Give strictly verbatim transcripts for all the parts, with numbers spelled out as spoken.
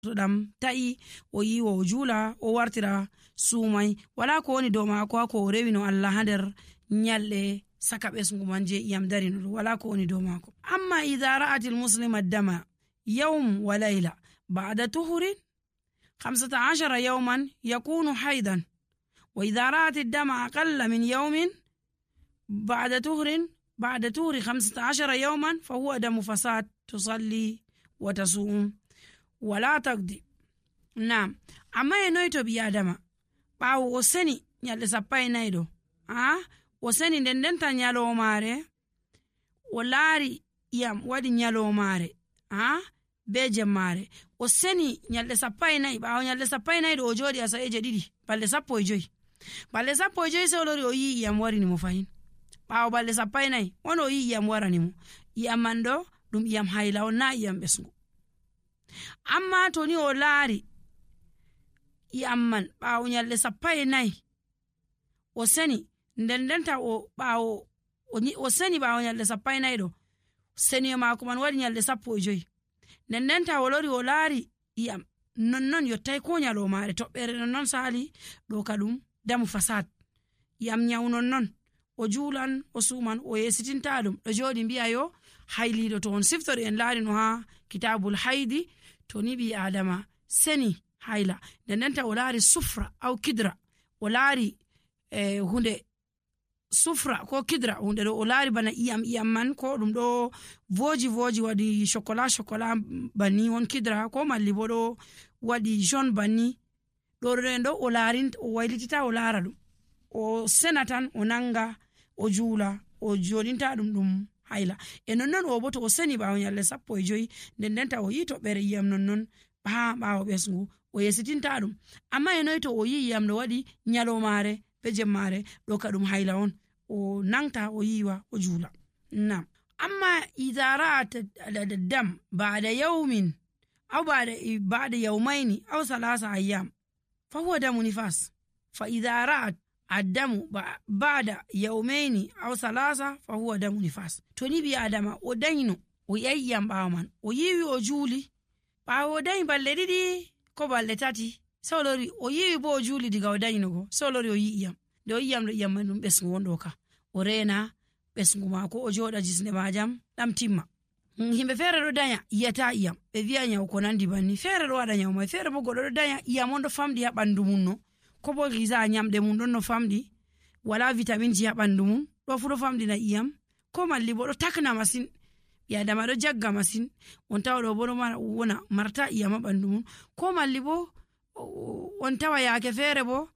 to ɗam ta'i o yiwa o juula o wartira suumai wala ko woni dow maako ko o rewi no Allah ha nder nyalɗe saka ɓesngu man je iyam darino ɗo wala ko woni dow maako. Amma idha ra'at al-muslima dama yawm wa layla ba'da tuhurin خمسة عشر يوما يكون حيضا وإذا رأت الدم أقل من يوم بعد طهر بعد طهر خمسة عشر يوما فهو دم فساد تصلي وتصوم ولا تقضي. نعم أما ينويتو بيادما باو وسني نيال سباي نايدو آه وسني دندنتا نيالو ماري ولاري يام وادي نيالو ماري آه beje mare o seni nyalde sappai nay bawo nyalde sappai nay do o jodi asa eje didi balle sappo e joyi balle sappo e joyi se olori o yi yam warini mo fahin bawo balle sappai nay wono yi yam warani mo yam mando dum yam hayla on na yam besngu. Amma to ni o laari yam man bawo nyalde sappai nay o seni ndendenta o bawo o seni bawo nyalde sappai nay do seni maako man wadi nyalde sappo e joyi nennenta wolori o laari iyam nonnon yottay ko nyalo maare toɓɓere nonnon sali ɗo kadum damu fasad yam nyaw nonnon o juulan o suman o yesitinta ɗum ɗo jooɗi mbi'a yo hayliɗo to on siftori en laari no ha kitabul haydi to ni ɓi adama seni hayla nennenta o laari sufra aw kidra o laari eh, hunde sufra ko kidra hunde ɗo o laari bana iyam iyam man ko ɗum ɗo voji voji waɗi chocolat chocolat banni won kidra ko malli bo ɗo waɗi jaune banni ɗo ɗen ɗo o laarin o waylitita o laara ɗum o senatan o nanga o juula o joɗinta ɗum ɗum hayla e nonnon o bo to o seni ɓawo nyalle sappo e joyi nden ndenta o yi toɓɓere iyam nonnon ha ɓawo ɓesngu o yesitinta ɗum. Amma e noy to o yi iyam no waɗi nyalomare be jemmare ɗo ka ɗum hayla on o nangta o yiwa o juula. Nam amma idha ra'at ad-dam ba'da yawmin aw ba'da ba'da yawmayn aw thalatha ayyam fa huwa damu nifas fa idha ra'at ad-damu ba'da yawmayn aw thalatha fa huwa damu nifas. To ni bi adama o dayno o yayyam ɓawo man o yiwi o juuli ɓawo o dayi balle ɗiɗi ko balle tati solori o yiwi bo o juuli diga o daynugo solori o yi iyam de o yiyam do iyam man ɗum ɓesngu wonɗo ka o rena ɓesngu maako o joɗa jisne majam ɗam timma. Himɓe feere ɗo daya yiyata iyam ɓe wi'a nyaw ko nandi banni feere ɗo waɗa nyaw mai feere bo goɗɗo ɗo daya iyam on ɗo famɗi ha ɓandu mum no ko bo giza nyamɗe mum ɗon no famɗi wala vitamin ji ha ɓandu mum ɗo fu ɗo famɗina iyam ko malli bo ɗo takna masin ɓi adama ɗo jagga masin on tawa ɗo bo ɗo wona marta iyam ha ɓandu mum ko malli bo on tawa yaake feere bo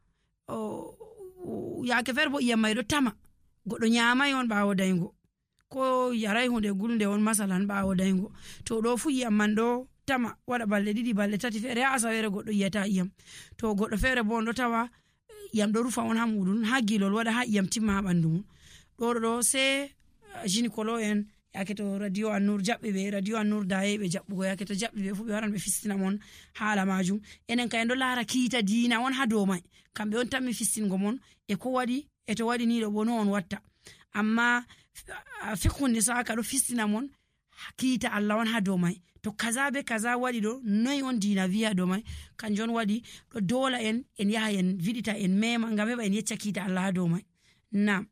yaake feere bo iyam mai ɗo tama goɗɗo nyamai on ɓawo daygo ko yarai hunde gulnde on masalan ɓawo daygo to ɗo fu iyam man ɗo tama waɗa balɗe ɗiɗi balɗe tati feere ha asawere goɗɗo yiyata iyam to goɗɗo feere bo on ɗo tawa iyam ɗo rufa on ha muɗum ha gilol waɗa ha iyam timma ha ɓandu mum ɗo ɗo se gynécolo en yake to radio annur jaɓɓe ɓe radio annur daye ɓe jaɓɓugo yake to jaɓɓe ɓe fu ɓe waran ɓe fistina mon haala majum enen ka en ɗo laara kiita diina on ha dow mai kamɓe on tammi fistingo mon e ko waɗi e to waɗi ni ɗo bo no on watta amma fikhunde saka ɗo fistina mon kiita Allah on ha dow mai to kaza be kaza waɗi ɗo noy on diina wiya dow mai kanjon waɗi ɗo dola en en yaha en vidita en mema ngam heɓa en yecca kiita Allah ha dow mai. Nam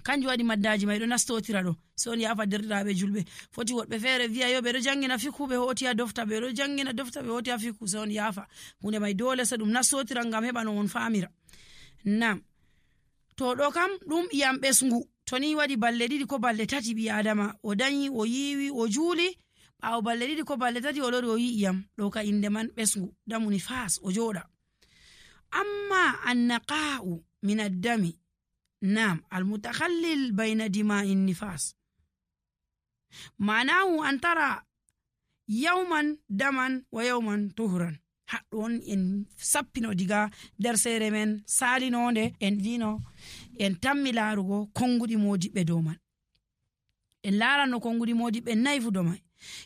kanjum waɗi maddaji mai ɗo nastotira ɗo so on yafa derɗiraɓe julɓe foti woɗɓe feere wiya yo ɓe ɗo jangina fikhu ɓe hoti ha dofta ɓe ɗo jangina dofta ɓe hoti ha fikhu so on yafa hunde mai dole se ɗum nastotira ngam heɓa no on famira. Nam to ɗo kam ɗum iyam ɓesngu to ni waɗi balle ɗiɗi ko balle tati ɓi adama o dayi o yiwi o juuli ɓawo balle ɗiɗi ko balle tati o lori o yi iyam ɗo ka inde man ɓesngu damuni fas o joɗa. Amma annaqa'u min ad-dami nam al-mutakhallil bayna dima'in nifas ma'anahu an tara yawman daman wa yawman tuhran. Haɗɗon en sappino diga nder seere men salinonde en dino en tammi laarugo konguɗi modiɓɓe dow man en laarano konguɗi modiɓɓe nayi fu dow mai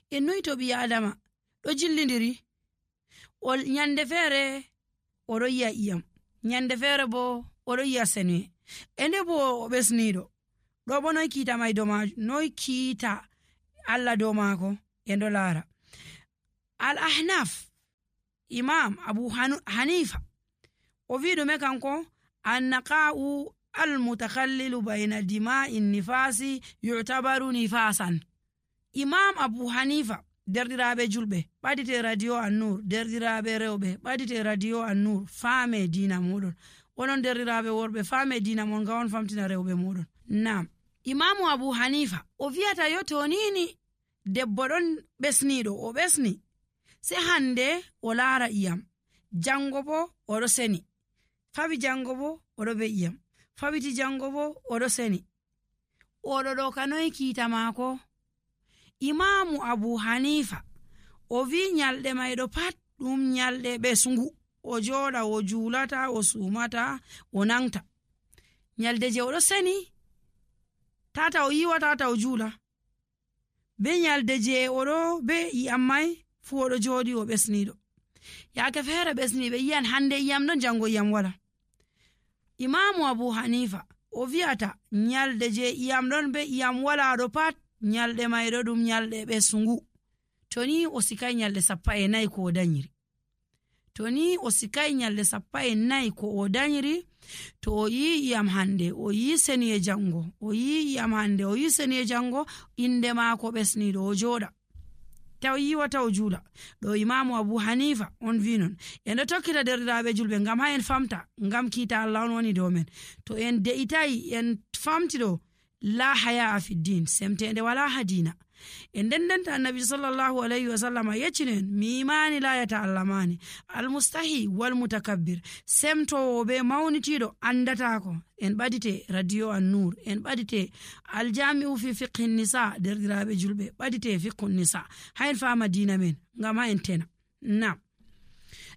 en noyi to ɓi adama ɗo jillidiri o nyande feere oɗo yiya iyam nyande feere bo oɗo yiya senwe e nde bo o ɓesniɗo ɗo bo noy kiita mai dow ma noy kiita Allah dow maako en ɗo laara al ahnaf imam abu hanifa o wi ɗume kanko annaqa'u almutakhallilu bayna dima'i nifasi yu'tabaru nifasan. imam abu hanifa derɗiraɓe julɓe ɓadite radio annur, derɗiraɓe rewɓe ɓadite radio annur, faame dina moɗon. onon derɗiraɓe worɓe faame dina mon nga on famtina rewɓe moɗon. nam imamu abu hanifa o wiyata yo tonini debbo ɗon ɓesniɗo o ɓesni se hande o laara iyam, jango bo oɗo seni, fawi jango bo oɗo be iyam, fawiti jango bo oɗo seni, oɗo ɗo kanoy kiita maako. imamu abu hanifa o wi nyalɗe mayɗo pat ɗum nyalɗe ɓesngu, o joɗa o julata o sumata o nangta. nyalde je oɗo seni tata o yiwa tata o jula, be nyalde je oɗo be iyam mai fu oɗo joɗi o ɓesniɗo. yaake feere ɓesniɓe yiyan hande iyam ɗon jango iyam wala. imamu abu hanifa o wi'ata nyalde je iyam ɗon be iyam wala ɗo pat nyalɗe mayɗo ɗum nyalɗe ɓesngu. to ni o sikai nyalɗe sappa e nayi ko o danyiri, to ni o sikai nyalɗe sappa e nayi ko o danyiri, to o yi iyam hande o yi seniye jango, o yi iyam hande o yi seniye jango, inde maako ɓesniɗo o joɗa taw yiwa taw jula. ɗo imamu abu hanifa on vi non. en ɗo tokkita derɗiraɓe julɓe ngam ha en famta, ngam kiita Allah on woni dow men. to en de'itayi en famti ɗo la haya a fiddin, semtende wala ha dina. en dendenta annabi sallallahu alayhi wa sallam yeccinen mi imani la yata'allamani almustahi wal mutakabbir, semtowo be mawnitiɗo andatako. en ɓadite radio annur, en ɓadite aljami'u fi fiqhi nisa, derɗiraɓe julɓe ɓadite fiqhu nisa, ha en fama dina men ngam ha en tena. nam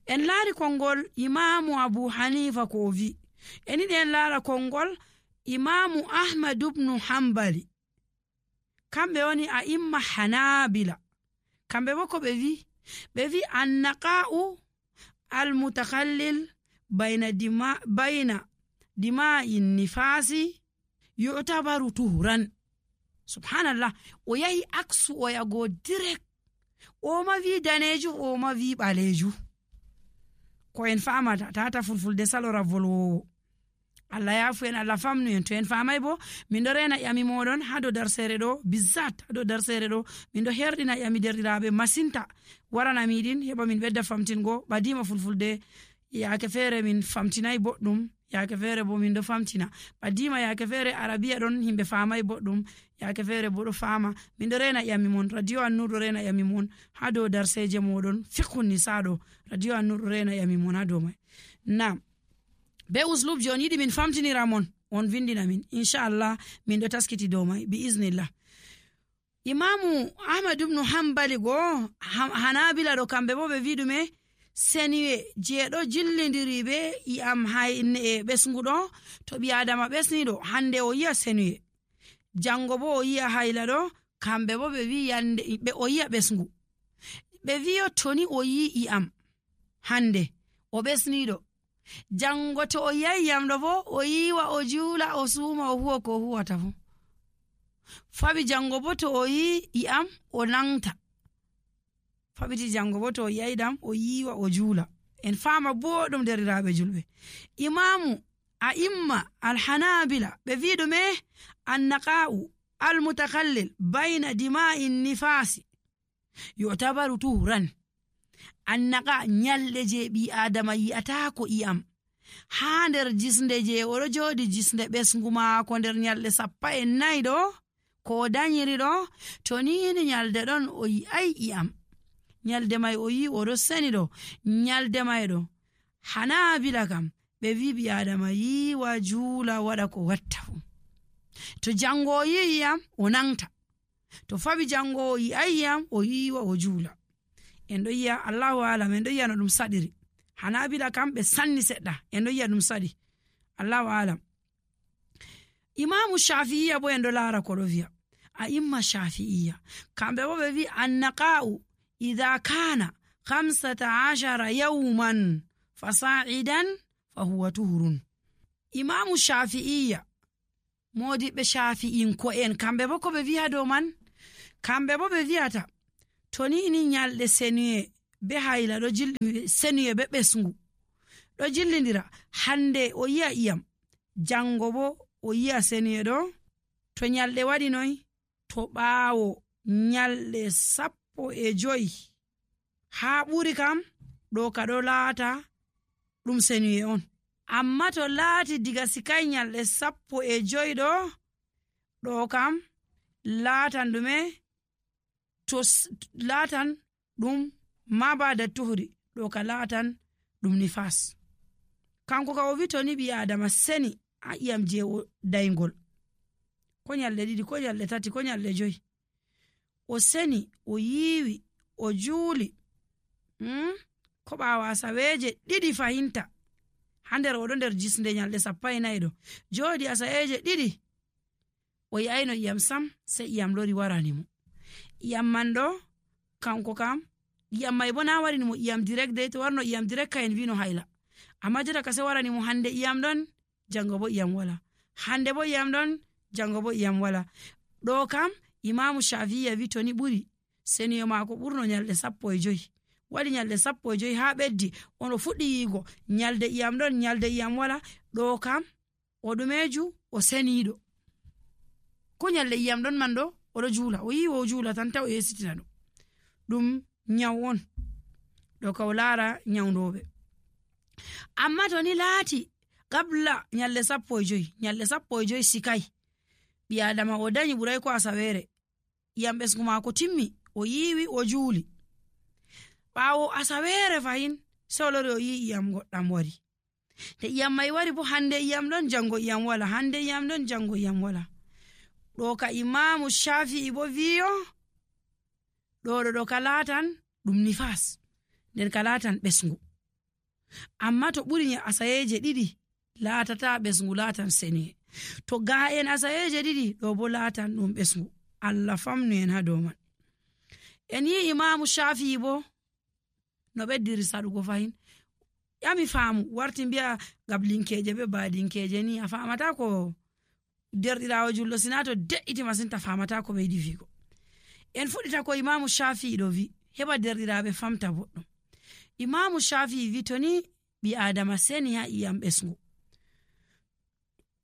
en laari konngol imamu abu hanifa ko o wi. en yiɗi en laara konngol imamu ahmad ibnu hambali, kamɓe woni a imma hanabila. kamɓe bo ko ɓe wi, ɓe wi annaqa'u almutakhallil bayna dima bayna dima'i nifasi yu'tabaru tuhran. subhanallah, o yahi aksu o yago direct, o ma wi daneju o ma wi ɓaleju. ko en famata tata fulfulde salora volwowo. Allah yafu en, Allah famnu en. to en famay bo min do rena yami modon ha do darsere do bizzat ha do darsere do min do herdina yami derdiraabe masinta warana midin heba min bedda famtingo badima fulfulde yaake fere min famtinay boddum, yaake fere bo min do famtina badima, yaake fere arabiya don himbe famay boddum, yaake fere bo do fama. min do rena yami mon, radio annur do rena yami mon ha do darseje modon fiqhu nisa do, radio annur do rena yami mon ha do mai. nam be uslub jon yiɗi min famtinira mon, on vindina min inchallah min ɗo taskiti dow mai bi iznillah. imamu ahmad ibnu hambali go hanabila ɗo kamɓe bo ɓe wi ɗume seniwe je ɗo jillidiri be iyam hayne e ɓesnguɗo. to ɓi adama ɓesniɗo hande o yiya seniwe, jango bo o yiya hayla ɗo, kamɓe bo ɓe wi yande ɓe o yiya ɓesngu. ɓe wiyo toni o yi iyam hande o ɓesniɗo, jango to o yayi yamɗo bo o yiwa o juula o suuma o huwa ko huwata fu. faɓi jango bo to o yi iyam o nangta, faɓiti jango bo to o yayi ɗam o yiwa o juula. en fama boɗum deriraɓe julɓe. imamu a imma alhanabila ɓe wi ɗume annaqa'u almutakhallil bayna dima'i nifasi yu'tabaru tuhran. annaqa nyalɗe je ɓi adama yi'ata ko iyam ha nder jisnde je oɗo joɗi jisnde ɓesngu maako nder nyalɗe sappa e nayi ɗo ko o danyiri ɗo, to nini nyalde ɗon o yi'ai iyam, nyalde mai o yi oɗo seni ɗo, nyalde mai ɗo hanabila kam ɓe wi ɓi adama yiwa juula waɗa ko watta fu. to jango o yi iyam o nangta, to faɓi jango o yi'ai iyam o yiwa o juula. en ɗo yiya allahu alam, en ɗo yiya no ɗum saɗiri. hanabila kam ɓe sanni seɗɗa, en ɗo yiya ɗum saɗi, allahu alam. imamu shafi'iya bo en ɗo laara ko ɗo wiya a imma shafi'iya, kamɓe bo ɓe wi annaqa'u idha kana khamsata ashara yawman fasa'idan fa huwa tuhurun. imamu shafi'iya modiɓe shafi'in ko en kamɓe bo ko ɓe wiya dow man, kamɓe bo ɓe wiyata to ni ni nyalɗe seniye be hayla ɗo jilli senuye be ɓesngu ɗo jillindira. hande o yi'a iyam, jango bo o yi'a senuye ɗo. to nyalɗe waɗi noy, to ɓaawo nyalɗe sappo e joyi haa ɓuri kam ɗo ka ɗo laata ɗum senuye on. amma to laati diga sikai nyalɗe sappo e joyi ɗo ɗo kam laatan ɗume, to laatan ɗum ma ba da tuhuri ɗo ka laatan ɗum nifas. kanko ka o vi to ni ɓi adama seni a iyam je o daygol ko nyalɗe ɗiɗi ko nyalɗe tati ko nyalɗe joyi, o seni o yiwi o juuli hmm? ko ɓawo asaweje ɗiɗi fahinta ha nder oɗo nder jisnde nyalɗe sappo e nayi ɗo jooɗi asaweje ɗiɗi o yi'ayno iyam sam, sai iyam lori waranimo. iyam man ɗo kanko kam iyam mai bo na warinimo iyam direct dai, to warno iyam direct ka en vino hayla, amma jota ka sai waranimo hande iyam ɗon jango bo iyam wala, hande bo iyam ɗon jango bo iyam wala. ɗo kam imamu shafi'i vi to ni ɓuri senuyo mako ɓurno nyalɗe sappo e joyi, waɗi nyalɗe sappo e joyi ha ɓeddi ono fuɗɗi yigo nyalde iyam ɗon nyalde iyam wala. ɗo kam o ɗumeju o seniɗo, ko nyalde iyam ɗon man ɗo oɗo juula, o yiwo o juula tan taw o yesitina ɗum ɗum nyaw on ɗo ka o laara nyawdoɓe. amma to ni laati qabla nyalɗe sappo e joyi, nyalɗe sappo e joyi sikai ɓi adama o dañi ɓuray ko asawere, iyam ɓesgu mako timmi, o yiwi o juuli, ɓawo asawere fahin sai o lori o yi iyam goɗɗam wari. te iyam mai wari bo hande iyam ɗon jango iyam wala, hande iyam ɗon jango iyam wala. ɗo ka imamu shafi'i bo wiyo ɗo ɗo ɗo ka laatan ɗum nifas, nden ka laatan ɓesgu. amma to ɓuri asayeje ɗiɗi laatata ɓesgu, laatan seniye. to ga'en asayeje ɗiɗi ɗo bo laatan ɗum ɓesgu. Allah famnu en ha dow man. en yi imamu shafi'i bo no ɓeddiri saɗugo fahin, yami faamu warti mbiya gablinkeje be badinkeje ni a famata ko derɗirawo jullo, sina to de'iti masin ta famata ko ɓe yiɗi figo. en fuɗɗita ko imamu shafi'i ɗo vi heɓa derɗiraɓe famta boɗɗum. imamu shafi'i vi to ni ɓi adama seni ha iyam ɓesgu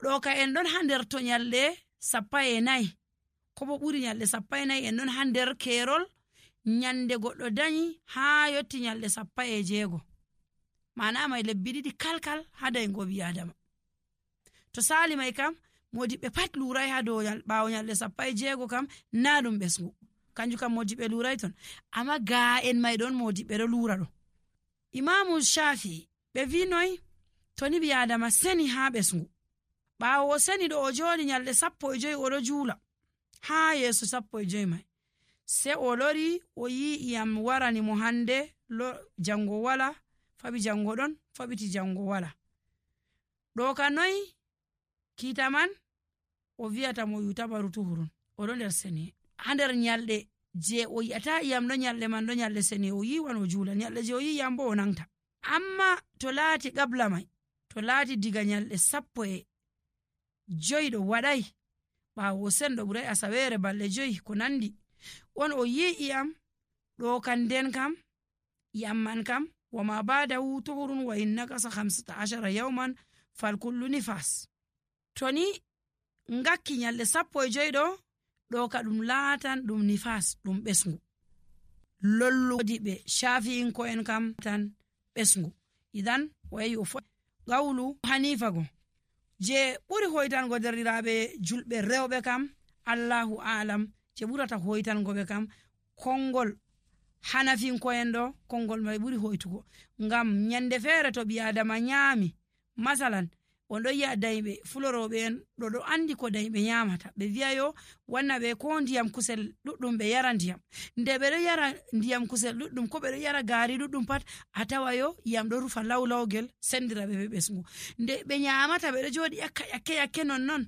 ɗo ka en ɗon ha nder to nyalɗe sappa e nayi ko bo ɓuri nyalɗe sappa e nayi, en ɗon ha nder kerol nyande goɗɗo dañi ha yotti nyalɗe sappa e jeego, mana mai lebbi ɗiɗi kalkal ha daygo ɓi adama. to sali mai kam modiɓɓe pat lurai ha dow ɓawo nyalɗe sappa e jeego kam na ɗum ɓesgu, kanjum kam modiɓɓe lurai ton, amma ga en mai ɗon modiɓɓe ɗo lura ɗo. imamu shafi ɓe vi noy, to ni ɓi adama seni ha ɓesgu, ɓawo o seni ɗo o joɗi nyalɗe sappo e joyi oɗo juula ha yeeso sappo e joyi mai, sai o lori o yi iyam warani mo hande jango wala, faɓi jango ɗon, faɓiti jango wala. ɗo ka noy kita man o viyata mo yutabaru tuhurun, oɗo nder seni ha nder nyalɗe je o yi'ata iyam ɗo nyalɗe man ɗo nyalɗe seni o yiwan o juula, nyalɗe je o yi iyam bo o nangta. amma to laati qabla mai, to laati diga nyalɗe sappo e joyi ɗo waɗai ɓawo sen ɗo ɓurai asawere balɗe joyi ko nandi on o yi iyam ɗo kan nden kam iyam man kam wama badahu tuhurun wa in nakasa hamsata ashara yawman fal kullu nifas. to ni ngakki nyalɗe sappo e joyi ɗo ɗo ka ɗum laatan ɗum nifas, ɗum ɓesgu. lolludi ɓe shafi'inko en kam tan ɓesgu. idan o yahi o fo gawlu hanifa go je ɓuri hoytango derɗiraɓe julɓe rewɓe kam allahu alam, je ɓurata hoytango ɓe kam kongol hanafinko en ɗo, kongol mai ɓuri hoytugo. ngam nyande feere to ɓi adama nyami masalan on ɗo yi'a dayɓe fuloroɓe en ɗo ɗo andi ko dayɓe nyamata, ɓe wi'ayo wanna ɓe ko ndiyam kusel ɗuɗɗum ɓe yara ndiyam, nde ɓe ɗo yara ndiyam kusel ɗuɗɗum ko ɓe ɗo yara gaari ɗuɗɗum pat a tawayo iyam ɗo rufa lawlawgel sendira ɓe ɓe ɓesgu, nde ɓe nyamata ɓe ɗo joɗi yakka yakke yakke non non